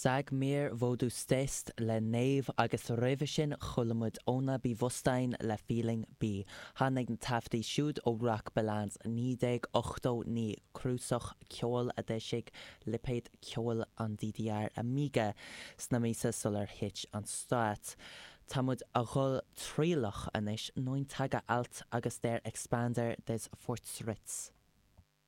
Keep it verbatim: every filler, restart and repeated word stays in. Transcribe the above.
Sag mir, wo du stehst le Naomh agus roimhe sin chuala muid Ohne Bewusstsein le Feeling B. Tháinig na taifeadtaí siúd ó Rockbilanz naoi déag ochtó naoi cnuasach ceoil a d'eisigh lipéad ceoil an DDR Amiga sna míosa sular thit an stát. Tá muid a dhul trialach anois neun Tage alt agus Der Expander des Fortschritts.